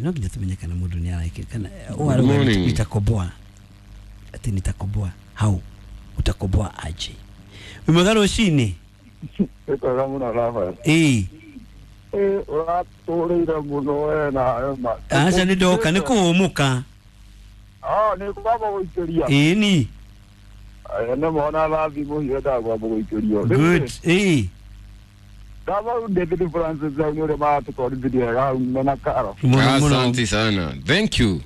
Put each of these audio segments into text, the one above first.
No nginya tumenye kana mundu ni araike kana Good morning. Nitakoboa ati nitakoboa hau utakoboa aje wimwega rucini. Ĩkwega mũno Rafael. Ĩĩ. Ĩ ũratũrĩire mũno we na ma. Aca nĩ ndoka nĩ kũhũmũka. Ah, nĩ kwamba gũikĩria. Ĩĩ ni. Nĩ mona rathi mũhiũ ndakwamba gũikĩrio. Good. Ĩĩ. Ndaba David Francis hau nĩ ũrĩa maratũtwarithirie wega hau mena karo. Mũno mũno. Asante sana. Thank you.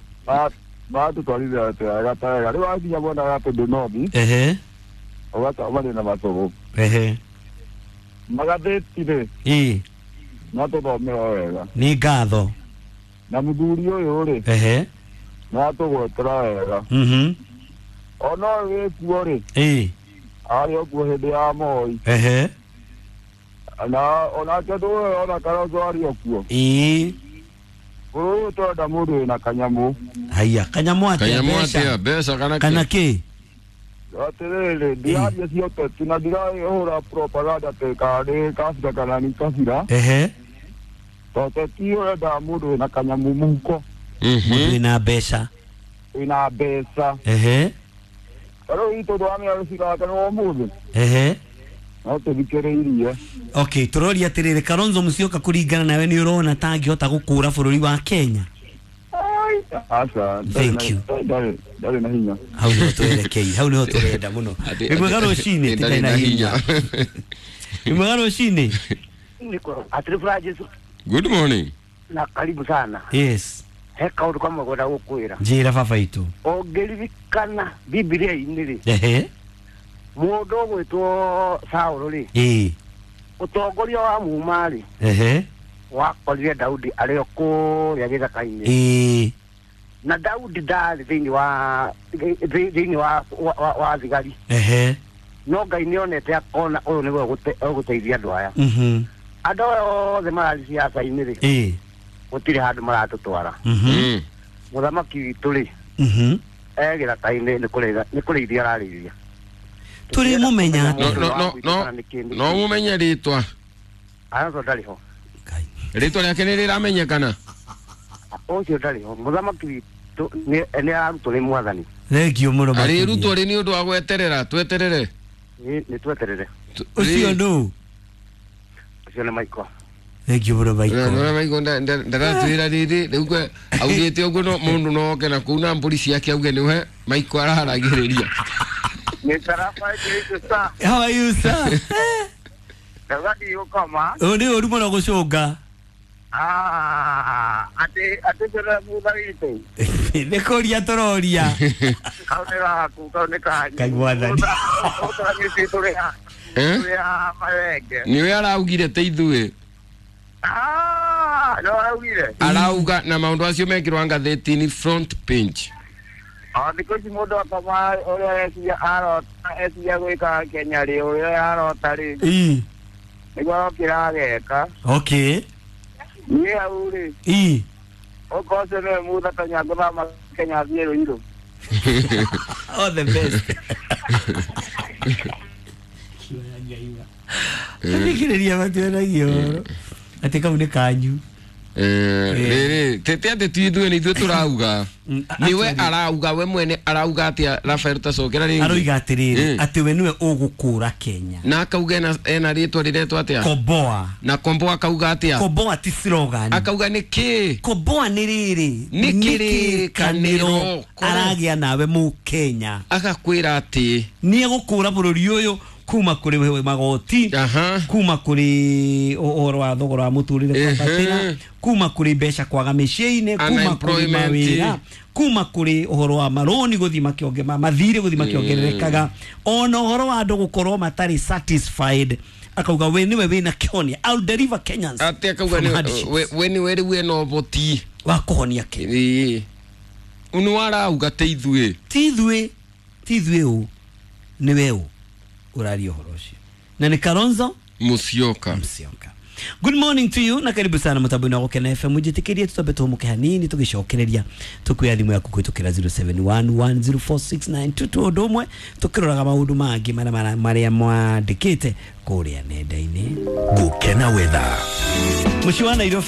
Maratũtwarithia wega ta wega. Rĩu wakinya mwena wa Tũndũ North Ehe. ũgacemania na matũgũ. Ehe. Magathĩti rĩ Ĩĩ. matũthomera wega. Nĩ ngatho. Na mũthuri ũyũ rĩ Ehe. nĩatũgwetera wega. Mhm. Ona ũyũ wĩkuo rĩ Ĩĩ. arĩ o kuo hĩndĩ ya Moi. Ehe. Na onake ndũĩ ona Kalonzo arĩ o kuo. Ĩĩ. Bũrũri ũyũ tũrenda mũndũ wĩna kanyamũ. Haiya kanyamũ atĩa Kanyamũ mbeca atia mbeca kana kana kĩ? kĩ? Atĩrĩrĩ ndiraria cia ũteti na ndirahũra propaganda atĩ kana nĩ kabira kana nĩ kabira. Ehe. To ũteti ũrendaga mũndũ wĩna kanyamũ mũhuko. Mũndũ Mhm. wĩna mbeca. Wĩna mbeca. Ehe. Ta rĩu itũ twamenya rũcirake nĩ ũmũthĩ. Ehe. No tũthikĩrĩirie. Okay, tũroria atĩrĩrĩ Kalonzo Musyoka kũringana nawe nĩ ũrona ta angĩhota gũkũra bũrũri wa Kenya? Aca Thank you. ndarĩ na hinya. Hau nĩho twerekei, hau nĩho tũrenda mũno. Wĩmwega rũcinĩ, Ndarĩ na hinya. Wĩmwega rũcinĩ. Atiri Francis Good morning. na karibu sana. Yes. He kaundu kamwe ngwenda gukwira. Njĩra baba itũ. Ũngĩririkana Bibilia-inĩ rĩ, Ehe. mũndũ ũgwĩtwo Saũlũ rĩ, Ĩĩ. ũtongoria wa muma rĩ, Ehe. wakorire Daudi arĩ o kũrĩa gĩthaka-inĩ. Ĩĩ. Na Daudi ndarĩ thĩinĩ wa thĩinĩ wa thigari. Ehe. No Ngai nĩonete akona ũyũ nĩwe ũgũteithia andũ aya. Mhm. Andũ aya othe marathiĩ siasa-inĩ rĩ, Ĩĩ. gũtirĩ handũ maratũtwara. Mhm. Mm. Mũthamaki witũ rĩ, Mhm. e gĩthaka-inĩ nĩ kũrĩithia ararĩithia. Tũrĩ mũmenya No atĩa? no no no no mumenye ritwa. Alonso ndarĩ ho. Ngai. Ritwa rĩake nĩ rĩramenyekana. Ũcio ndarĩ ho. Mũthamaki witũ nĩ ararutwo nĩ mwathani. Thengio mũno makĩria. Arĩrutwo rĩ nĩ ũndũ wa gweterera, tweterere. Nĩ tweterere. Ũcio nũ? Ũcio nĩ Michael. Thengio mũno Michael. Nora Michael ndaratwĩra rĩrĩ rĩu kwe augĩte ũguo no mũndũ no oke na kũu na mbũri ciake auge nĩwe Michael araharagĩrĩria. Mr. Rafael Kirito sir. How are you sir? Ndauga ndigũkoma. Ũyũ nĩ ũru mũno gũcũnga. Ah, atĩ tũrĩa thutha witũ. Nĩ kũria tũroria. Kau nĩ gaku, kau nĩ kanyu. Ngai mwathani. Ũtũranyĩtie tũrĩ ha. Eh? Tũrĩ ha marenge. Nĩwe araugire te ithuĩ. Ah, no araugire. Arauga na maũndũ acio mekĩrwo ngathĩti-inĩ front page. O thikũ ici mũndũ akoma ũrĩa eciria arota eciria gwĩka Kenya rĩ, ũrĩa arota rĩ, Ĩĩ. nĩguo arokĩra ageka. Okay. Niĩ hau rĩ, Ĩĩ. okorwo ũcio nĩwe mutha Kenya ngũthama Kenya thiĩ Ruiru. All the best. Athikĩrĩria matuonagia ũhoro atĩ kau nĩ kanyu. Rĩrĩ tete atĩ ti ithuĩ nĩ ithuĩ tũrauga. Nĩwe arauga we mwene arauga atĩa Rafael tacokera rĩngĩ. Aroiga atĩrĩrĩ Mm. atĩ we nĩwe ũgũkũra Kenya. Na akauga ena rĩtwa rĩretwo atĩa? Komboa. Na Komboa akauga atĩa? Komboa ti slogan. Akauga nĩ kĩ? Komboa nĩ rĩrĩ Nĩ kĩrĩkanĩro. Aragĩa nawe mũkenya. Agakwĩra atĩ Nĩ egũkũra bũrũri ũyũ kuma kũrĩ magoti. Aha. Kuma kũrĩ ũhoro wa thogora wa mũtũrĩre kwambatĩra, kuma kũrĩ mbeca kwaga mĩciĩ-inĩ, kuma kũrĩ Unemployment. mawĩra, kuma kũrĩ ũhoro wa marũni gũthiĩ makĩonge mathirĩ gũthiĩ makĩongererekaga, ona ũhoro wa andũ gũkorwo matarĩ satisfied. Akauga we nĩwe wĩna kĩhonia, I'll deliver Kenyans atĩ akauga from hardships. we nĩwe rĩu ena ũhoti. Wa kũhonia Kenya. Ĩĩ. Nĩ arauga te ithuĩ. Ti ithuĩ, ti ithuĩ ũ, nĩwe ũ ũraria ũhoro ũcio, na nĩ Kalonzo Musyoka. Musyoka. Good morning to you na karibu sana mutambo-inĩ wa Gũkena FM. Njĩtĩkĩrie tũtambe tũhũmũke hanini tũgĩcokereria tũkuoya thimũ yaku kũhĩtũkĩra 0711046922 ũndũ ũmwe tũkĩroraga maũndũ mangĩ marĩa mwandĩkĩte kũrĩa nenda-inĩ. Gũkena Weather. Mũciĩ wa Nairobi.